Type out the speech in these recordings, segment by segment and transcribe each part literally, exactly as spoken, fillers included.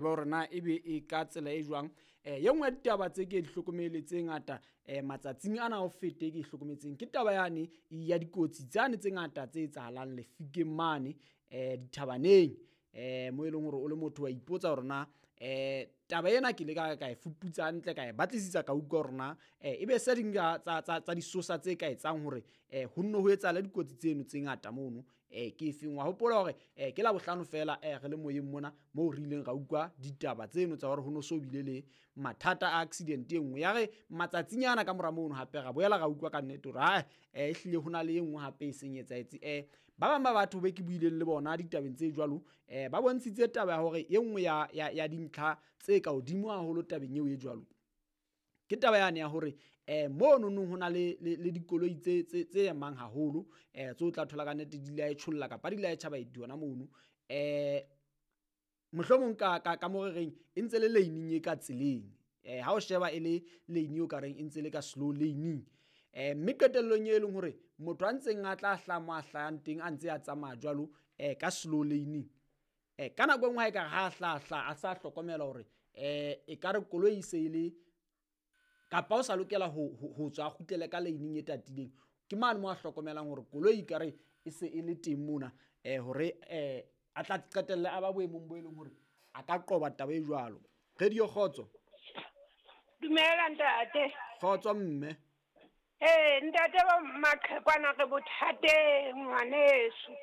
Hore na ebe e ka tsela e jwang. um Ye nngwe ya ditaba tse ke di hlokomele tse ngata um matsatsing ana ho fete ke hlokometseng ke taba yane ya dikotsi tsane tse ngata tse etsahalang lefikeng mane um dithabaneng, um mo e leng hore o le motho wa ipotsa hore na um taba ena ke ile ka ka e fuputsa hantle, ka e batlisisa, ka utlwa hore na ebe se ding tsa tsa disosa tse ka etsang hore um ho nno ho etsahale dikotsi tseno tse ngata mono um ke efeng. Wa hopola hore um ke Labohlano feela um re le moyeng mona moo re ileng ra utlwa ditaba tseno tsa hore ho no so bile le mathata a accident e nngwe. Ya re matsatsinyana ka mora mono hape ra boela ra utlwa ka nnete hore ha e ehlile ho na le e nngwe hape e seng etsahetse. um Ba bang ba batho be ke buileng le bona ditabeng tse jwalo um ba bontshitse taba ya hore e nngwe ya ya ya dintlha tse ka hodimo haholo tabeng eo e jwalo ke taba yane ya hore um mono nong ho na le le dikoloi tse tse tse emang haholo um tse o tla thola ka nnete di la e kapa di la e tjha baeti hona mono. um Mohlomong ka ka ka mo re reng e ntse le lane-ing e ka tseleng, um ha o sheba e le lane eo ka reng e ntse le ka slow lane-ing. um Mme qetellong e leng hore motho a ntseng a tla hlaha mo a hlahang teng a ntse a tsamaya jwalo um ka slow lane-ing, um ka nako e nngwe ha ekare ha hlaha hlaha a sa hlokomela hore um ekare koloi e se e le kapa o sa lokela ho ho tswa a kgutlele ka lane-ing e tatileng, ke mane mo a hlokomelang hore koloi ekare e se e le teng mona um hore um a tla qetelle a ba boemong bo e leng hore a ka qoba taba e jwalo. Radio Kgotso. Dumela ntate. Kgotso mme. Ee ntate ba maqhekwana re bothateng ngwaneso.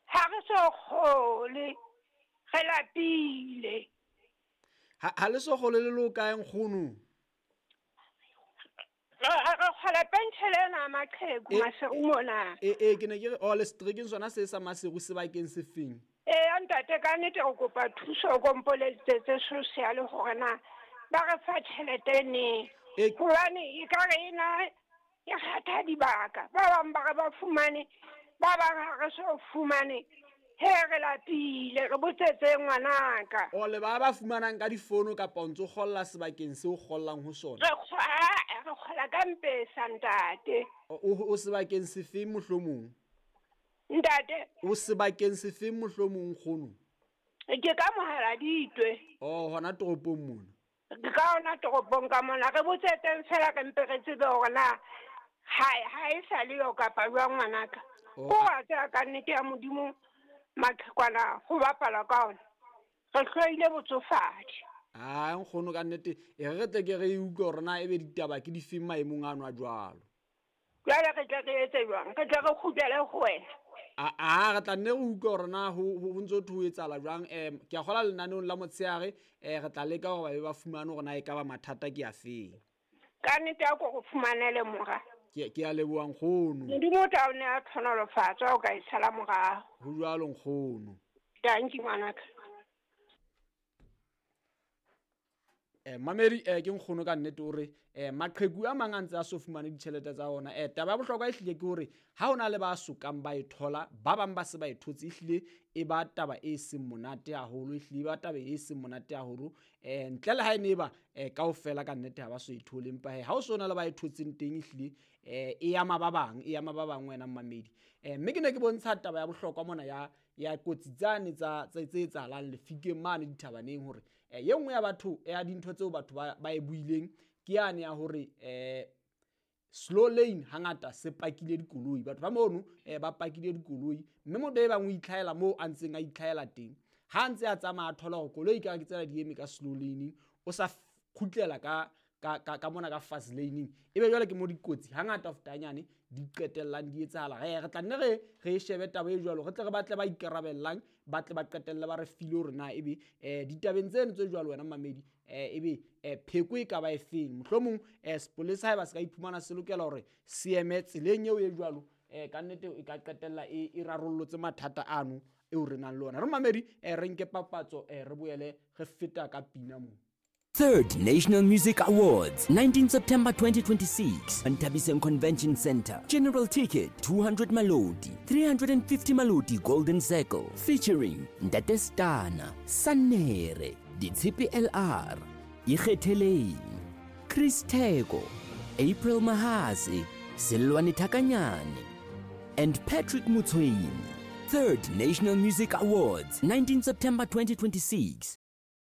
Ha re so kgole, re lapile. Ha ha le so kgole le lo kae nkgono? Re kgola penshele ena ya maqheku Maseru mona. E e ke ne ke re o le seterekeng sona se sa Maseru sebakeng se feng? Ee ntate, ka nnete re kopa thuso ko mpolelletse social hore na ba re fa tjhelete neng. Hobane ekare ena e kgetha dibaka. Ba bang ba re ba fumane, ba bang ha re so fumane. He re lapile, re botsetse ngwanaka. O le ba ba fumanang ka difono kapa o ntso kgolla sebakeng seo kgollang ho sona? Re kgola, re kgola ka mpesa ntate. O o sebakeng sefeng mohlomong? Ntate. O sebakeng sefeng mohlomong nkgono? Ke ka Mohaladitwe. Oh, hona toropong mona. Ke ka hona toropong ka mona. Re botsetseng fela re mpe re tsebe hore na ha ha e sa le yo kapa jwang ngwanaka. Oh, Ko wa tseba ka nnete ya Modimo maqhekwana ho bapala ka ona. Re hloile botsofadi. Ah, nkgono ka nnete e re tle ke re e utlwe hore na ebe ditaba ke difeng maemong ano a jwalo. Jwale re tle re etse jwang? Re tle re kgutlele ho wena. A a re tla nne re utlwe hore na ho ho ntso ho etsahala jwang. um Ke a kgola lenaneong la motshehare um re tla leka hore ba be ba fumane hore na e ka ba mathata ke a feng. Ka nnete a ko re fumanele mora. Ke ke a leboha nkgono. Modimo o tla o neha tlhonolofatso ha o ka e sala morao. Ho jwalo nkgono. Dankie ngwanaka. Eh mamedi eh ke nkgono ka nnete hore eh maqheku a mang a ntse a so fumane ditjhelete tsa ona. Eh taba ya bohlokwa ehlile ke hore ha hona le ba sokang ba e thola, ba bang ba se ba e thotse, ehlile e ba taba e seng monate haholo, ehlile e ba taba e seng monate haholo. Eh ntle le ha e ne ba eh kaofela ka nnete ha ba so e thole, empa he ha o sona le ba e thotseng teng ehlile eh e ama ba bang, e ama ba bang wena mmamedi. Eh mme ke ne ke bontsha taba ya bohlokwa mona ya ya kotsi tsane tsa tse tse etsahalang lefikeng mane dithabaneng hore eh ye nngwe ya batho ya dintho tseo batho ba ba e buileng ke yane ya hore eh slow lane hangata se pakile dikoloi. Batho ba mono eh ba pakile dikoloi, mme motho e bang o itlhaela moo a ntseng a itlhaela teng. Ha ntse a tsamaya a thola hore koloi ka ke tsela di eme ka slow lane, o sa kgutlela ka ka ka ka mona ka fast lane, ebe jwale ke mo dikotsi hangata ho feta nyane di qetellang di etsahala. Re re tla nne re re shebe taba e jwalo, re tle re batle ba ikarabellang, ba tle ba qetelle ba re file hore na ebe eh ditabeng tseno tse jwalo wena mamedi eh ebe eh pheko e ka ba e feng. Mohlomong eh sepolesa haeba se ka iphumana se lokela hore se eme tseleng eo e jwalo, eh ka nnete e ka qetella e e rarollotse mathata ano eo re nang le ona. Re mamedi eh re nke papatso eh re boele re feta ka pina moo. Third National Music Awards, nineteenth September twenty twenty-six, Nthabiseng Convention Center. General ticket, two hundred Maloti, three hundred fifty Maloti Golden Circle, featuring Ntate Stana, Sanere, Ditshepe L R, Ikgetheleng, Chris Theko, April Mahase, Selwane Thakanyane, and Patrick Motshwenyi. Third National Music Awards, nineteenth September twenty twenty-six.